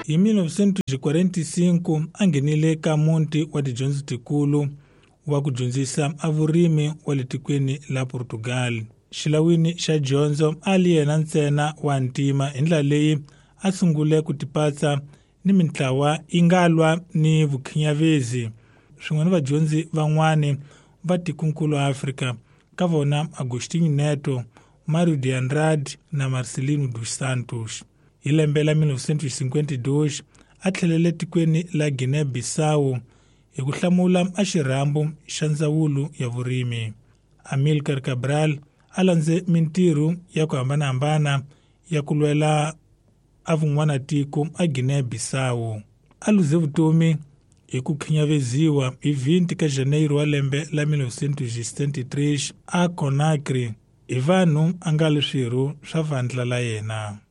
Hi 1945 a nghenile ka muti wa tidyondzo tikulu wa ku dyondzisa a vurimi wa le tikweni la Portugal. Xilawini xa dyondzo a li yena ntsena wa ntima, hi ndlela leyi a sungule ku tipatsa ni mintlawa yi nga lwa ni vukhinyavezi swin'we ni vadyondzi van'wani va tikonkulu Afrika, ka vona Agostinho Neto, Mário de Andrade na Marcelino dos Santos. Hi lembe la 1952 a tlhelele tikweni la Guinea-Bissau hi ku hlamula a xirhambo xa ndzawulo ya vurimi. Amilcar Cabral a landze mintirho ya ku hambanahambana ya ku lwela a vun'wanatiko a Guinea-Bissau. A luze vutomi hi ku khinyaveziwa hi 20 ka Janeiro wa lembe la 1973 a Conakry hi vanhu a nga li swirho swa vandla la yena.